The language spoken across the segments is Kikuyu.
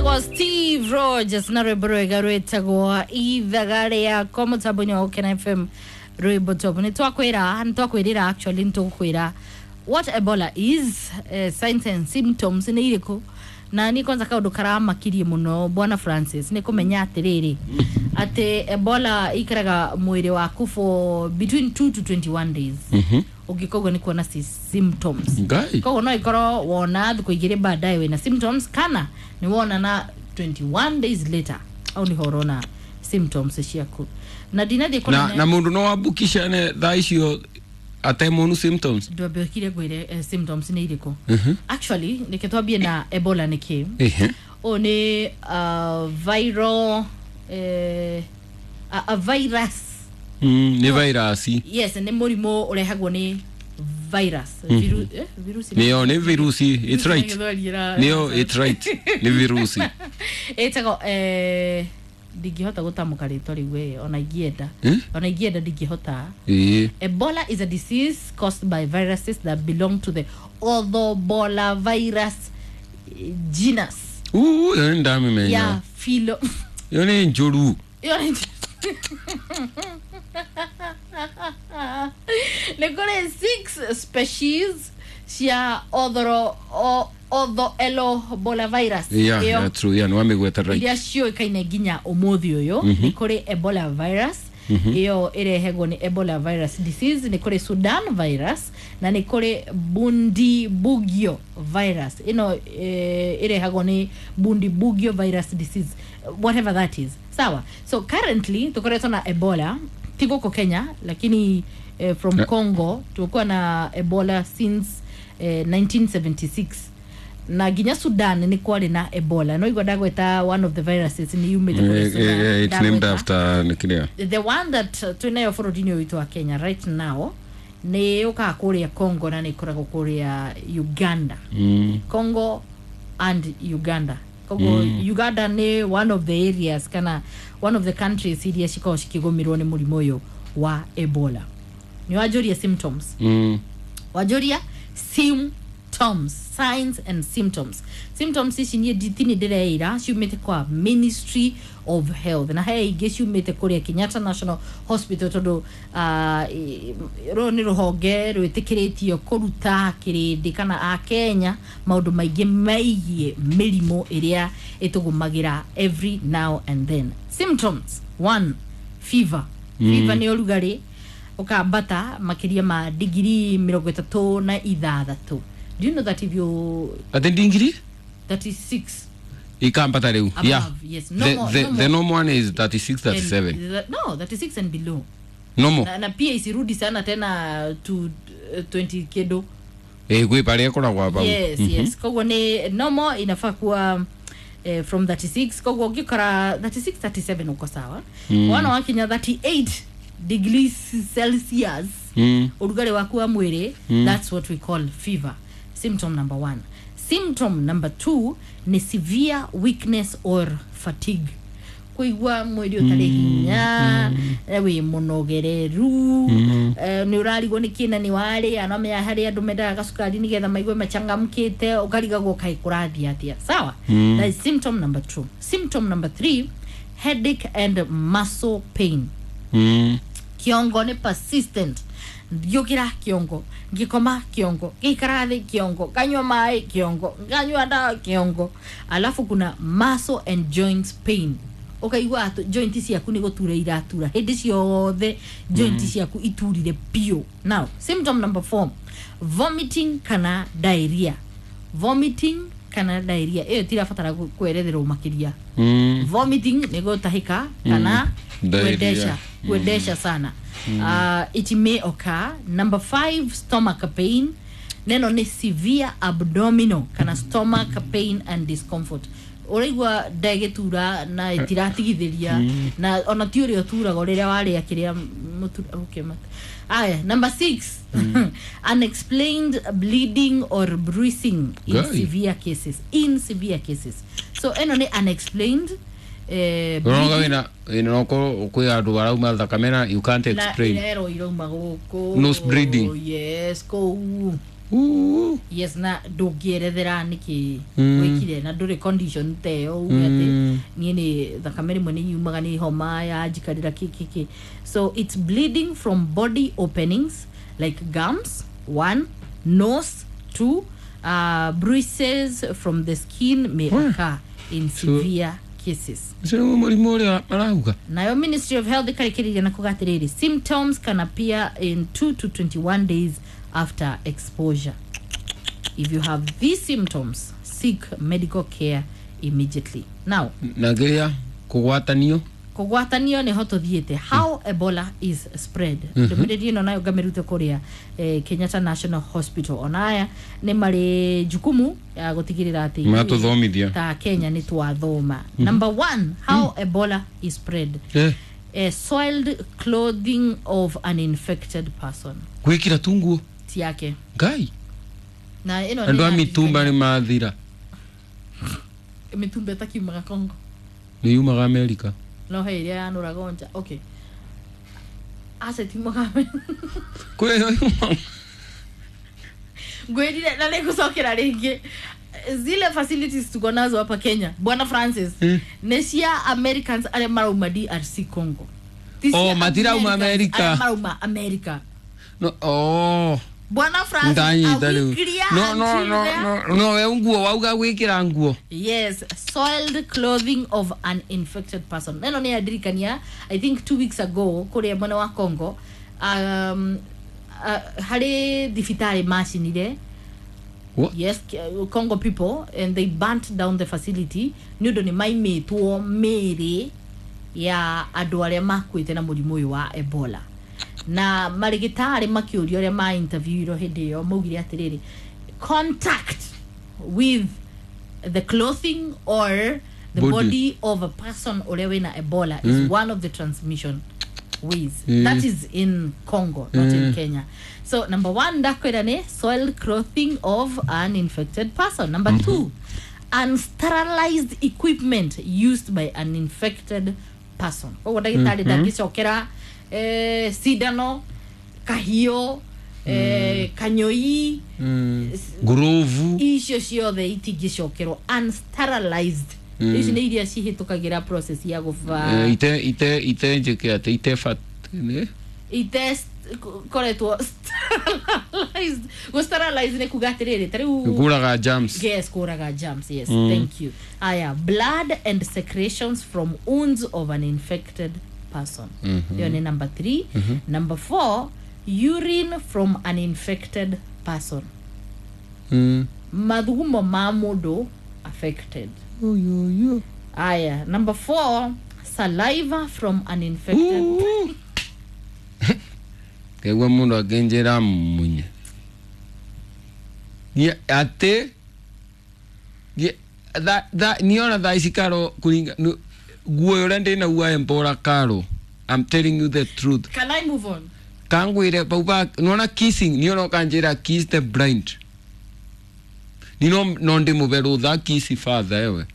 Etagwo Steve Rogers na rwimbo rwega rwitagwo ithaga rĩakwa mũtambo-inĩ wa Gũkena FM rwimbo top. Nĩ twakwĩra, nĩ twakwĩrĩra, actually nĩ tũgũkwĩra what Ebola is, signs and symptoms nĩ irĩkũ. Na niĩ kwanza kaũndũ karamakirie mũno, bwana Francis, nĩ kũmenya atĩrĩrĩ atĩ Ebola ikaraga mwĩrĩ waku for between 2 to 21 days ũngĩkoguo nĩ kuona symptoms. Ngai. Koguo no ikorwo wona thikũ igĩrĩ baadaye wĩna symptoms, kana nĩ wona na 21 days later au nĩho ũrona symptoms ciaku na ndinathiĩ. Na mundu no ambukishane thaa icio atemonu symptoms? Ndwambe ũkire ngwĩre symptoms nĩ irĩkũ. Actually, reke twambie na Ebola nĩ kĩ. Ũyũ nĩ viral, a virus. Nĩ virus. Yes, nĩ mũrimũ ũrehagwo nĩ virus. Virusi. Nĩyo nĩ virusi, it's right. Nĩyo, it's right, nĩ virusi. Ĩtagwo, ndingĩhota gũtamũka rĩtwa rĩu we, ona ingĩenda. Eh? Ona ingĩenda ndingĩhota. Ebola is a disease caused by viruses that belong to the Orthobola virus genus. Uu, ĩyo nĩ ndamĩmenya. Ya philo. Ĩyo nĩ njũru. Ĩyo nĩ kũrĩ six species cia orthoelobola virus. Yeah. Ĩyo Yeah, true, yeah, nĩ wamĩgweta right. iria ciũĩkaine nginya ũmũthĩ ũyũ, nĩ kũrĩ Ebola virus, ĩyo ĩrehegwo nĩ Ebola virus disease, nĩ kũrĩ Sudan virus, na nĩ kũrĩ Bundibugyo virus, ĩno ĩrehagwo nĩ Bundibugyo virus disease, whatever that is. Sawa, so currently tũkoretwo na Ebola ti gũkũ Kenya, lakini from Congo tumekuwa na Ebola since 1976, na nginya Sudan nĩ kwarĩ na Ebola. No igua ndagweta one of the viruses nĩ yumĩte kũrĩ Sudan. It's named Ndagweta. after nĩ The one that twĩnayo bũrũri-inĩ ũyũ witũ wa Kenya right now nĩ yũkaga kũrĩa Congo na nĩ ĩkoragwo kũrĩa Uganda. Congo and Uganda. Koguo Uganda nĩ one of the areas kana one of the countries iria cikoragwo cikĩgũmĩrwo nĩ mũrimũ ũyũ wa Ebola. Nĩ wanjũria symptoms. Wanjũria symptoms, signs and symptoms. Symptoms ici niĩ nditini ndĩreira ciumĩte kwa Ministry of Health, na he ingĩ ciumĩte kũrĩa Kenyatta National Hospital, tondũ rũrũ nĩ rũhonge rwĩtĩkĩrĩtio kũruta kĩrĩndĩ kana akenya maũndũ maingĩ megiĩ mĩrimũ ĩrĩa ĩtũgũmagĩra every now and then. Symptoms: one, fever. Fever nĩ ũrugarĩ ũkambata makĩria ma digiri 36. Do you know that if you Ati ndingiri 36 ikambata rĩu? Above, yes. No more, The, no the more. normal one is 36, 37. And, no, 36 and below. Normal. Na pia isirudi sana tena to 20 kedo. Gwĩ parĩa ĩkoragwo bau. Yes, koguo nĩ normal inafaa kuwa from 36. Koguo ũngĩkora 36, 37 uko sawa. Wana wakinya 38 degrees Celsius ũrugarĩ waku wa mwĩrĩ, that's what we call fever, symptom number one. Symptom number two ni severe weakness or fatigue, kũigua mwĩrĩ ũtarĩ hinya, wĩ mũnogereru, nĩ ũrarigwo nĩ kĩna nĩ warĩa. No menya harĩ andũ mendaga gacukari nĩgetha maigue machangamkĩte, ũkarigagwo kaĩ kũrathiĩ atĩa. Sawa, that is symptom number two. Symptom number three, headache and muscle pain. Kiongo nĩ persistent, ngĩũkĩra kĩongo, ngĩkoma kĩongo, ngĩikara thĩ kĩongo, nganyua maĩ kĩongo, nganyua ndawa kĩongo. Alafu kuna muscle and joints pain, ũkaigua atĩ joint ciaku nĩ gũtura iratura hĩndĩ ciothe, joint ciaku iturire biũ. Now symptom number four, vomiting kana diarrhea. Vomiting kana diarrhea ĩyo tirabatara kweretherwo makĩria. Vomiting nĩ gũtahĩka kana Diarrhea. kuendesha, kuendesha sana. It may occur. Number five, stomach pain. Neno nĩ severe abdominal kana stomach pain and discomfort, ũraigua nda ĩgĩtura na ĩtiratigithĩria, na ona ti ũrĩa ũturaga rĩrĩa warĩa kĩrĩa mũtu. Okay, aya, number six, unexplained bleeding or bruising in Guy. severe cases, in severe cases. So ĩno nĩ unexplained Ũroga bleeding. Wĩna no kwĩ andũ arauma thakame na you can't Na explain. irero irauma gũkũ. Nose bleeding. Yes, kũu. Yes, na ndũngĩerethera nĩkĩ wĩkire na ndũrĩ condition ta ĩyo uge atĩ niĩ nĩ thakame rĩmwe nĩ yumaga nĩ homa ya njikarĩra kĩ kĩ kĩ. So it's bleeding from body openings like gums 1, nose 2, bruises from the skin may occur in severe cases. Ũcio nĩguo mũrimũ ũrĩa marauga. Nayo Ministry of Health ĩkarĩkĩrĩria na kuga atĩrĩrĩ, symptoms can appear in 2 to 21 days after exposure. If you have these symptoms, seek medical care immediately. Now, na kĩrĩa kũgwatanio. Kũgwatanio nĩho tũthiĩte, how Ebola is spread. Ndũmĩrĩri ĩno nayo ngamĩrute kũrĩa Kenyatta National Hospital. Ona aya nĩ marĩ jukumu ya gũtigĩrĩra atĩ ithuĩ Matũthomithia. ta Kenya nĩ twathoma. Number one, how Ebola is spread. Soiled clothing of an infected person. Gwĩkĩra tu nguo Ti yake. Ngai. Na ĩno Andũ a nĩ mitumba nĩ mathira. Mitumba ĩtakiumaga Congo. Nĩ yumaga Amerika. No he ĩrĩa yanũraga nja. Okay, aca tiumaga. Kwĩ ĩyo yumaga. Ngwĩrire na nĩngũcokera rĩngĩ, zile facilities tuko nazo hapa Kenya, Bwana Francis, nĩ cia Americans arĩa marauma DRC Congo. Ti cia Oh, matirauma Americans America. arĩa marauma America. No, oh. Bwana Francis, Ndanyita are we rĩu. clear No, no, until no, there? no, no, we nguo wauga gwĩkĩra nguo. Yes, soiled clothing of an infected person. Neno nĩ yandirikania, I think 2 weeks ago kũrĩa mwena wa Congo, harĩ thibitarĩ macinire. What? Yes, Congo people, and they burnt down the facility nĩ ũndũ nĩ maimĩtwo mĩĩrĩ ya andũ arĩa makuĩte na mũrimũ ũyũ wa Ebola. Na marĩgĩtarĩ makĩũrio arĩa ma interviewirwo hĩndĩ ĩyo maugire atĩrĩrĩ, contact with the clothing or the Body. body of a person ũrĩa wĩna Ebola is one of the transmission ways. That is in Congo, not in Kenya. So number one ndakwĩra nĩ soiled clothing of an infected person. Number two, unsterilized equipment used by an infected person. Koguo ndagĩtarĩ ndangĩcokera cindano, kahiũ, kanyũi, Ngurubu. Icio ciothe itingĩcokerwo unsterilized. Ici nĩ iria cihĩtũkagĩra process ya gũba. Ite njĩke atĩ ite fat nĩ? Ite koretwo sterilized. Gũ sterilize nĩ kuga atĩrĩrĩ, ta rĩu Kũraga germs. Yes, kũraga germs, yes. Thank you. Aya, blood and secretions from wounds of an infected person, hiyo ni number three. Number four, urine from an infected person. Mathugumo ma mũndũ affected. Oyoyo. Aya, number four, saliva from an infected. Kaigua mũndũ akĩnjĩra munye. Atĩ niona thaa ici karo kuringa nguo ũrĩa ndĩnaguo Ebola karo. I'm telling you the truth. Can I move on? Kangwire pau ba nona kissing niona kanjĩra kiss the blind. Ni no no ndĩmũbe rũtha kiss father ewe.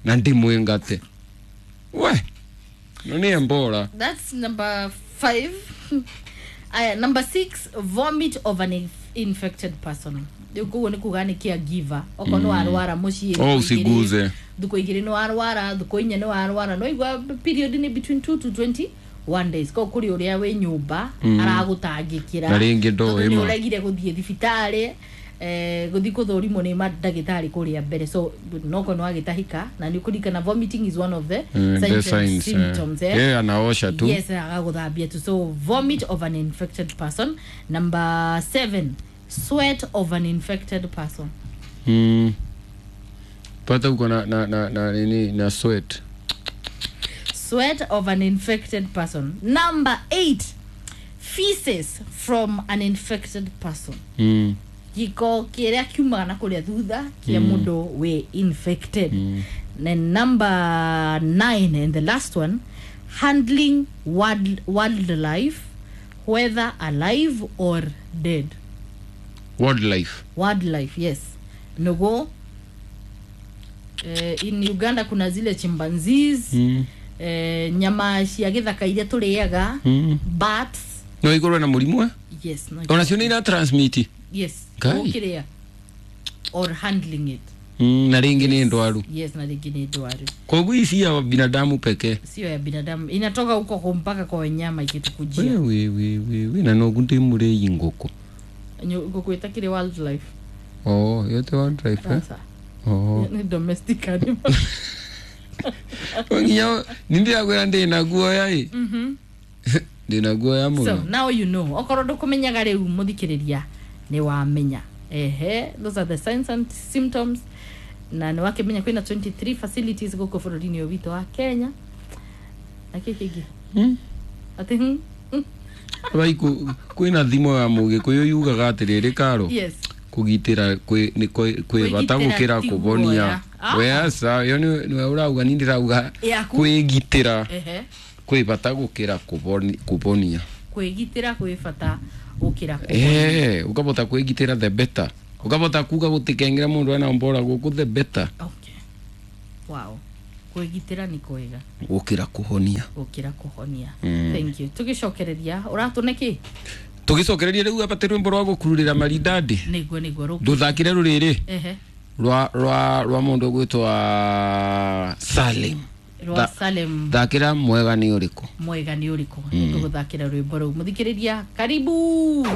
Na ndĩmwĩngate. We. No nĩ Ebola. That's number five. Aya, number six, vomit of an infected person. Rĩu koguo nĩ kuga nĩ caregiver okorwo nĩ warwara mũciĩ, Oh, thukũ igĩrĩ- usiguze. thukũ igĩrĩ nĩ warwara, thukũ inya nĩ warwara, no igua period nĩ between 2 to 21 days. Koguo kũrĩ ũrĩa wĩ nyũmba aragũtangĩkĩra Na rĩngĩ ndoĩ tondũ nĩ ma. ũregire gũthiĩ thibitarĩ, gũthiĩ gũthũrimwo nĩ mandagĩtarĩ kũrĩa mbere. So nokorwo nĩ wagĩtahĩka na nĩ ũkũririkana vomiting is one of the signs The and signs, symptoms, eh? Yeah, anaosha tu. Yes, agagũthambia tu. So vomit of an infected person. Number seven, sweat of an infected person. Pata uko na nini na sweat. Sweat of an infected person. Number eight, feces from an infected person. Gĩko kĩrĩa kiumaga na kũrĩa thutha kĩa mũndũ wĩ infected. Then number nine and the last one, handling wildlife, whether alive or dead. Wildlife. Wildlife, yes. Nogo, in Uganda kuna zile chimpanzees, nyama cia gĩthaka iria tũrĩaga, bats. No ikorwo na mũrimũ eh? Yes, no. Onacio nĩ ira transmit? Yes. Ngai. Ũkĩrĩa or handling it. Na rĩngĩ nĩ ndwaru. Yes, na rĩngĩ nĩ ndwaru. Koguo ici ya binadamu pekee? Sio ya binadamu, inatoka huko kwa mpaka kwa wanyama ikitukujia. We, we, we, we, na nogu ndĩ mũrĩi ngũkũ. Ngũkũ ĩtakĩrĩ wildlife. Oh, yote wildlife, eh? Sasa Oh. ni domestic animal. Nginya nindirakwira ndina guoya ĩ. Ndina guoya So mũno. now you know, okorwo ndũkũmenyaga rĩu, mũthikĩrĩria, nĩ wamenya. Ehe, those are the signs and symptoms, na nĩ wakĩmenya kwĩna 23 facilities gũkũ bũrũri-inĩ ũyũ witũ wa Kenya. Na kĩ kĩngĩ? Hmm? Atĩ Bai kwĩna thimo ya mũgĩkũyũ yugaga atĩrĩrĩ, karo, Yes. kũgitĩra kwĩ bata Kwĩgitĩra gũkĩra ti kũbonia. guoya. Ah. We aca, ĩyo nĩwe ũrauga, ni ndĩrauga Yaku. kwĩgitĩra Ehe. kwĩ bata gũkĩra kũbonia. Kwĩgitĩra kwĩ bata gũkĩra kũhonia. Eh, ũkabota kwĩgitĩra the better, ũkabota kuga gũtikengera mũndũ ena mbora gũkũ, the better. Okay, wow, kwĩgitĩra nĩ kwega gũkĩra kũhonia. Gũkĩra kũhonia. Thank you. Tũgĩcokereria ũratũne kĩ? Tũgĩcokereria rĩu abate rwĩmbo rwa gũkururĩra maridadi. Nĩguo rũkĩ. Ndũthakire rũrĩrĩ Ehe. rwa mũndũ ũgwĩtwa Salim. Rwa Salem. Thakĩra "Mwega nĩ ũrĩkũ". "Mwega nĩ ũrĩkũ". Nĩtũgũthakĩra rwĩmbo rũu. Mũthikĩrĩria, karibu.